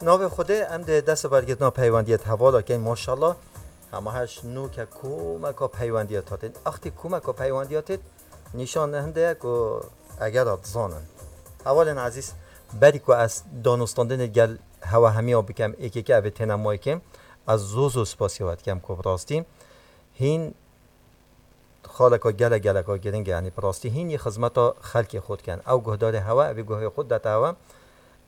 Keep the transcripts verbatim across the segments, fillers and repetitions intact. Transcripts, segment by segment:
Navê Xwedê em dê dest û bergirtina peywendiyê hevala keyn, maşallah. Hema her şi nû ke komeka peywendiya tê. Axtî komeka peywendiya tê nîşan hinde ye ku eger a dizanin. Hevalên ezîz, berî ku ez danûstandinê gel hewa hemiya bikem, êkê ke evê têne maykê, ez zû zû spasiya we dikem ku bi rastî hîn xaleka gelek geleka giring e, yanî bi rastî hîn yê xizmeta xelkê xwe dikin. Ew guhdarê hewe, evê guhê xwe dete hewe.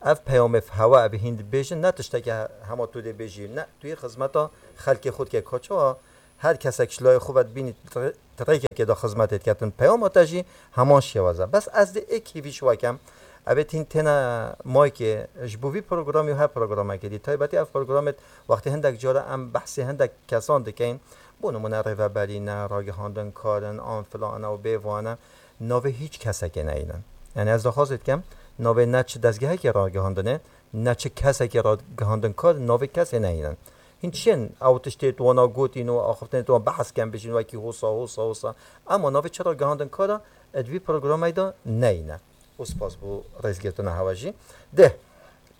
Ev peyamê hewe, evê hîn dibêjin, ne tişteke hema tu dê bêjî, ne, tu yê xizmeta xelkê xwe dike. Ka çawa her kesek ji layê xwe ve dibînî, ti rê-, ti rêkekê de xizmetê diketin. Peyama te jî heman şêwez e. Bes ez dê êk hîvî ji we kem. Evê hîn têne maykê ji bo vî programî û her programekê dî. Taybetî ev programê wextê hindek cara em behsê hindek kesan dikeyn. Bo nimûne rêveberî ne, ragihandin karin, an filan e û bêvan e, navê hîç kesekê neynin. Yanî ez daxwazê dikem, navê ne çi dezgehekê ragihandinê, ne çi kesekê ragihandin kar, navê kesê neynin. Hîn çi yên ew tiştê tu wana gotîn û axiftinê tu wan behs ken bijîn wekî hosa, hosa, hosa. Ema navê çi ragihandin kara, di vî programê de neyne. Û spas bo rêzgirtina hewe jî. Dê,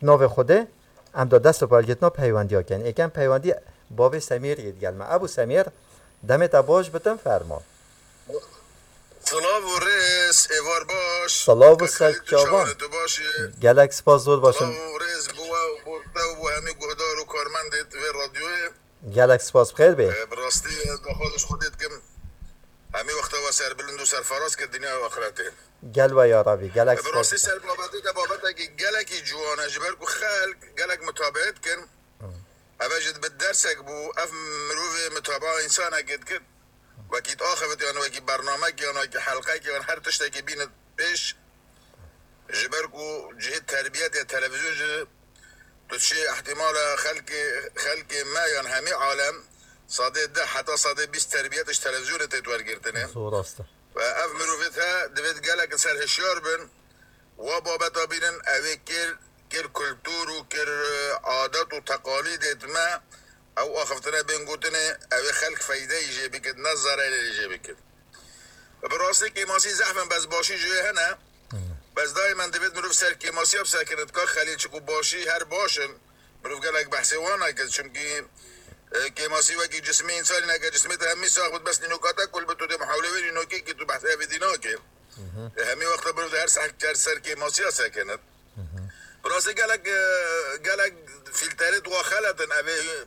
navê Xwedê, Em da dest û bergirtina peywendiya ken. Êkem peywendî bavê Semîrî digel me. Ebû Semîr, demê te baş bitin, fermo. Silav û rêz, êvar baş. Silav û Kak Xelîl, tu serçava. Çawan e, tu baş î? Gelek spas, zor baş im. Silav û rêz bo we û bo te û bo hemî guhdar û karmendê vê radyoyê. Gelek spas, bi xêr bê. E, bi rastî, e, daxwazê ji Xwedê dikim. Hemî wexta we serbilind û serfaraz ke dinya û axretê. Gel we ya Rabî, gelek spas. Bi rastî ser babetê te babetekî gelekî ciwan e, ji ber ku xelk gelek mutabeet dikin. Ev jî dibe dersek bû, ev mirovê mutabaa însanekê dikir. Wekî diaxivit yan wekî bernamek yan wekî helqek yan her tiştekî bînit pêş. Ji ber ku cihê terbiyet ya televîzyon jî tu dişê ihtimala xelkê, xelkê me yan hemî alem sadê deh heta sadê bîst terbiyet ji televîzyonê tê wergirtinê. Zor rast e. Ve ev mirovê te divêt gelek ser hişyar bin, wa babeta bînin, ew ê kir, kir kultur û kir, e, adet û teqalîdêt me, ew axiftine bên gotinê, ew ê xelk feydeyî jê bikit, ne zererê jê bikit. Bi rastî kêmasî zehf in, bes başî jê hene. Bes daîmen divêt mirov ser kêmasiya bisekine, dika Xelîl, çiku başî her baş in. Mirov gelek behsê wan nake, çimkî, e, kêmasî wekî cismê însanî nake, cismê te hemî sax bit, bes nînoka te kul bit, tu dê muhawle wê nînokê kî tu behsê evê dî nake. E, hemî wexta mirov dê her sehk ker ser kêmasiya sekine. Bi rastî gelek, e, gelek fîlterê tu xeletin, evê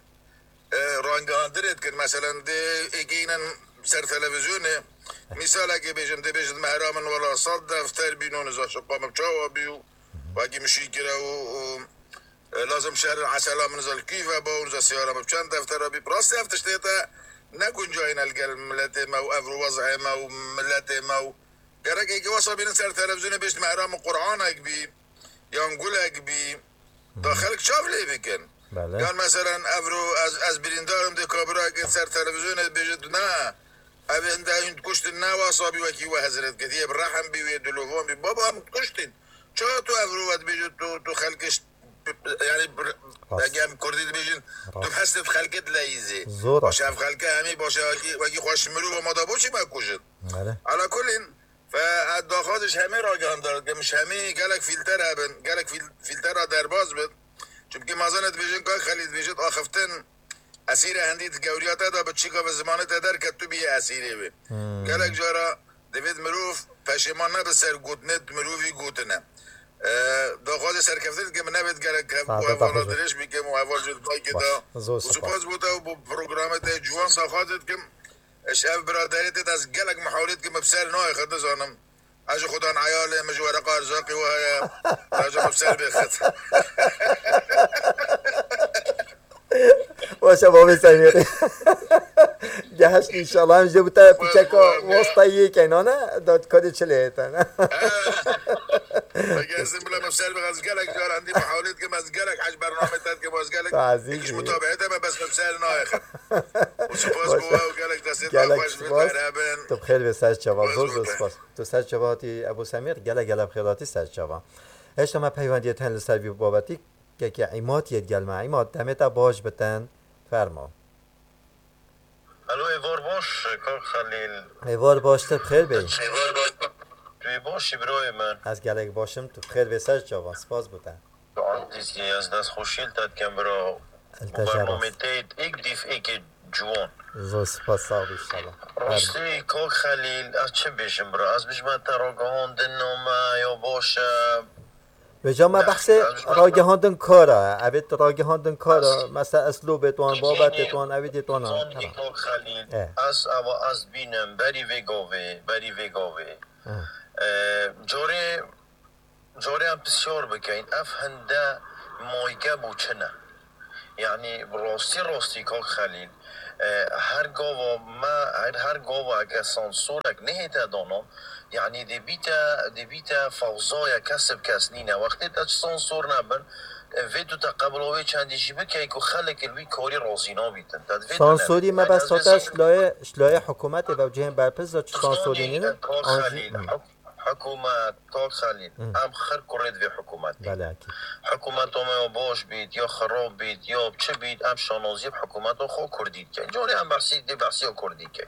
e, rangihandinê dikin. Meselen, dê êkê înin ser televîzyonê, mîsalekê bêjim, dê bêjin, mehra min wela sed defter bîno, niza şiqa min çawa bî û wekî min şî kire û, û, e, lazim şehr esela min niza li kî ve ba û niza siyara min çend deftera bî. Rastî ev tiştê te ne guncayîn e li gel miletê me û ev û wez'ê me û miletê me û gerek êkê wesa bînin ser televîzyonê bêjin, mehra min Qur'anek bî. Yan gulek bî, da xelk çav lê bikin. Belê. Yan meselen evro ez, ez birîndar im, dê kabirayekê ser televîzyonê dibêje tu ne, ev hinde hûn dikuştin ne wasa bî wekî we hezret ketiye, bi rehm bî wê dilovan bî. Baba em dikuştin. Çawa tu evro we dibêje tu, tu xelkê ş-, yanî bir, Rast. Ege em kurdî dibêjin, tu Rast. Hestê xelkê dileyîzî. Zor Baş rast. Ev xelke hemî baş e, wekî, wekî xweş mirov ma da bo çi me kujin? Belê. Ala kulîn, Fe ez daxwaz ji hemî ragihandar dikim, ji hemî gelek fîlter hebin, gelek fîl-, fîltera derbas bit. Çimkî mazane dibêjin, Kak Xelîl dibêjit, axiftin esîre hindî di gewriya te de bi çîka ve zimanê te derket, tu bîyê esîrê wê. Hmm. Gelek cara divêt mirov peşêman nebe ser gotinê mirovî gotine. E, daxwazê serkeftin dikim, min nevêt gerek hev-, Saete hevala taxûz. Dirêj bikim û heval jî dayke Baş. Da. Zor Û spas. Spas bo te û bo programê te ciwan daxwazê dikim. Ji ev biraderê te ez gelek mihawlê dikim, bi ser nayê xwe dizanim. Ez ji Xudan eyalê min ji wereqa erzaqî we heye. Ez ji xwe bi ser bêxit. Baş e, bavê Semîrî. Geheşt inşallah. Em jê bi te piçeka wasta yê kenane, da kadê çi lê hêtene. Gezdim bile min ser bixez gelek caran dî mihawlê dikim, ez gelek hej bername te dikim, ez gelek Tazî iş jî. Mutabehete me bes min ser nayexin. Û spas bo we û gelek destê te xweş bit, berhebin. Tu bi xêr bê ser çava, zor zor spas. Tu ser çava hatî Ebû Semîr, gelek gelek bi xêr hatî ser çava. Heşta me peywendiyê te li ser vî babetî, kekê Îmad yê digel me. Îmad, demê te baş bitin. Fermo. Alo, êvar baş, kak Xelîl. Êvar baş, tu bi xêr bê. Tu yê baş î birayê min. Ez gelek baş im, tu bi xêr bê ser çava, spas bo te. Dîskî, ez destxweşî li te dikim bira. Li te jî rast. Bernamê te yê êk dîf êkê ciwan. Zor spas, sax bî inşallah. Rastî kak Xelîl, ez çi bêjim bira? Ez bijme te ragihandina me ya baş e. Vêca me behsê ragihandin kar e. Evê tu ragihandin kar e. Mesela eslûbê wan, babetê wan, evî dê wan. Zanî kak Xelîl, ez eva ez bînim berî vê gavê, berî vê gavê. E, carê Carê em pisyar bikeyin, ev hinde mayke bû çi ne? Yanî rastî rastî kak Xelîl, e, her gava me, her, her gava eke sansorek nehête danan, yanî dê bîte, dê bîte fewzaya kes bi kes nîne. Wextê te çi sansor nebin, e, vê tu te qebula wê çendî jî bikey ku xelek li wî karî razî nabîtin. Te divê tu Sansorî nebît. Me bes hate ji layê, ji layê hikûmetê ve û cihên berpirs de çi sansorî nînin? Kak Xelîl, huk-, Hikûmet, kak Xelîl, em xir kurê divê hikûmetê. Belê, ekîd. Hikûmeta me ya baş bît, ya xirab bît, ya çi bît, em şanaziyê bi hikûmeta xwe kurdî dikin. Carê em behsî, dê behsiya kurdî dikin.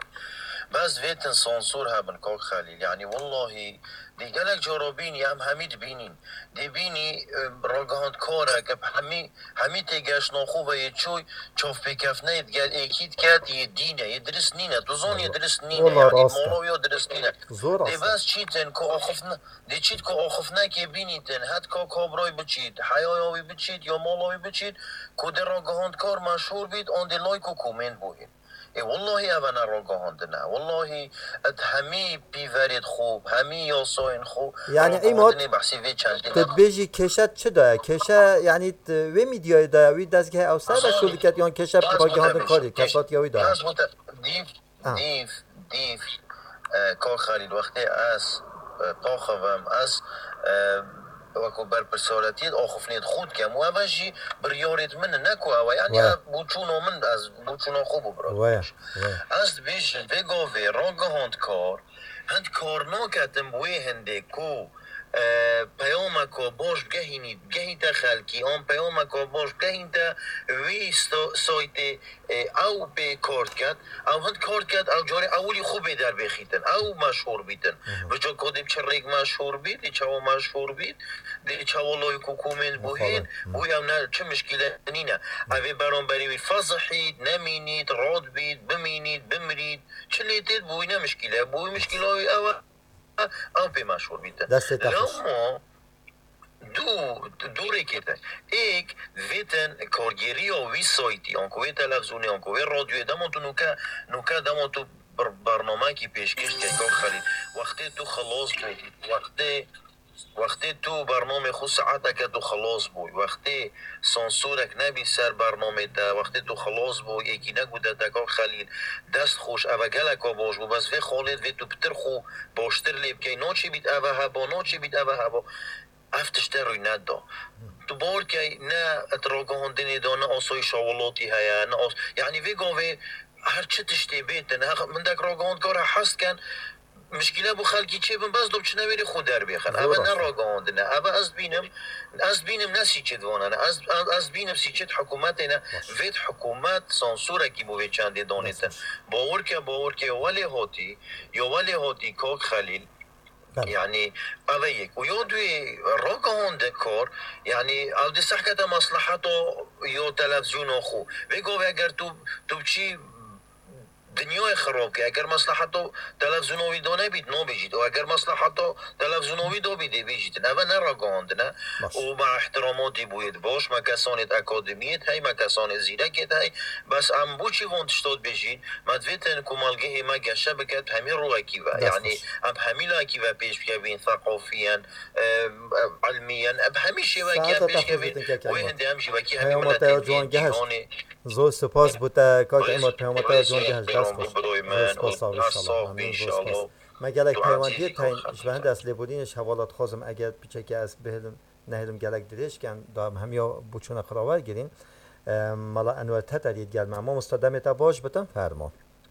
Bes vê tin sansor hebin, kak Xelîl. Yanî, wellahî, dê gelek cara bînî, em hemî dibînîn. Dê bînî, e, ragihandkarek, bi hemî Hemî têgeştna xwe ve yê çûy çavpêkeftineyê digel êkî diket, yê dîn e, yê dirist nîne. Tu zon yê dirist nîne. Wala yanî rast e. Mala wî ya dirist nîne. Zor rast e. Dê bes çîtin ku axifne, dê çît ku axifnekê bînîtin, het ka kabray biçît, heyaya wî biçît, ya mala wî biçît, ku dê ragihandkar meşhûr bît, an dê like û komênt bûyîn. Ê, wellahî eve ne ragihandin e. Wellahî, et hemî pîverêd xwe, hemî yasayên xwe, yanî, Îmad, ragihandinê behsî vê çendî tu ne. Dibêjî kêşe çi de ye? Kêşe, yanî, t-, wê mîdyayê de ye, wî dezgehê ew ser de şûl diket, yan kêşe ragihandin karî, kesatiya wî de ye? Ez bo te dîv, dîv, dîv, e, kak Xelîl, wextê ez, e, taxivim, ez, e, wekû berpirsaretiyê axiftinê xwe dikem û eve jî biryarêd min e, ne ku ew e. Yanî, ev boçûna min, ez boçûna xwe bû bira. Ez dibêjim, vê gavê ragihandkar, hind kar naketin bi wê hindê ku, e, peyameka baş bigehînî, bigehînte xelkî, an peyameka baş bigehînte wî sto-, saytê, e, ew pê kar diket, ew hind kar diket, ew carê ewilî xwe bê derbêxîtin, ew meşhûr bîtin. Bi ca ku dê bi çi rêk meşhûr bît, dê çawa meşhûr bît, dê çawa like û komênt bûyîn, bû ew ne çi mişkîle nîne. Ev ê beramberî wî fezihît, nemînît, rad bît, bimînît, bimirît, çi lê têt bûyî ne mişkîle, bûyî mişkîla wî ew e. Ew pê meşhûr bîtin. Destê te xweş. Lewma du, du rêkê te. Êk, vêtin kargêriya wî saytî, anku wê televîzyonê, anku wê radyoyê, dema tu nûke, nûke dema tu bir-, bernamekî pêşkêş dike, kak Xelîl. Wextê tu xilas bû, wextê, wextê tu bernamê xwe saeteke tu xilas bû, wextê sansorek nebî ser bernamê te, wextê tu xilas bû, yekî negote te, kak Xelîl, dest xweş, eve geleka baş bû, bes vê xalê divê tu pitir xwe baştir lê bikey, naçê bît eve heba, naçê bît eve heba. Ev tişte rûy neda. Tu bawer key ne et ragihandinê de, ne asayîşa welatî heye, ne as-, yanî vê gavê her çi tiştê bêtin, heq-, hindek ragihandkar he hez dikin, mişkîle bo xelkî çêbin, bes do biçine wêrê xwe derbêxin. Eve ne ragihandin e. Eve ez dibînim, ez dibînim ne sîçêt vana ne. Ez, ez, ez dibînim sîçêt hikûmetê ne. Vêt hikûmet sansorekî bo vê çendê danêtin. Bawer ke, bawer ke, welê hatî, ya welê hatî kak Xelîl, Belê. Yanî, ev e yek. Û ya duyê, ragihandin kar, yanî, ew dê sehkete mesleheta ya televîzyona xwe. Vê gavê eger tu, tu biçî dinyayê xirab kê, eger mesleheta televîzyona wî da nebît, nabêjît. Û eger mesleheta televîzyona wî da bî, dê bêjîtin. Ev e ne ragihandin e. Baş. Û me îhtiramatî bûyê baş, me kesanê akademiyê hey, me kesanê zîrekê hey. Bes em bo çi van tişta dibêjîn? Me divêtin ku malgehê me geşe biket, hemî rûyekî ve. Dest xweş. Yanî, em hemî layekî ve pêş bikevin, seqafiyen, e, e, ilmiyen, em hemî şêwekî em pêş kevin. Wê hindê em jî wekî hemî miletên cîhanê. Zor spas bo te, kak Îmad, peyama te ya ciwan gehişt. Dest xweş. Zor spas, sax bî, inşallah. Amîn, zor spas. Me gelek peywendiyê teyn, ji ber hindê ez lêborînê ji hevala dixwazim, eger piçekê ez bihêlim, nehêlim gelek dirêj ken, da em hemiya boçûna xwe rawer girîn. E, Mala Enwer Teterî digel me. Mamosta, demê te baş bitin, fermo.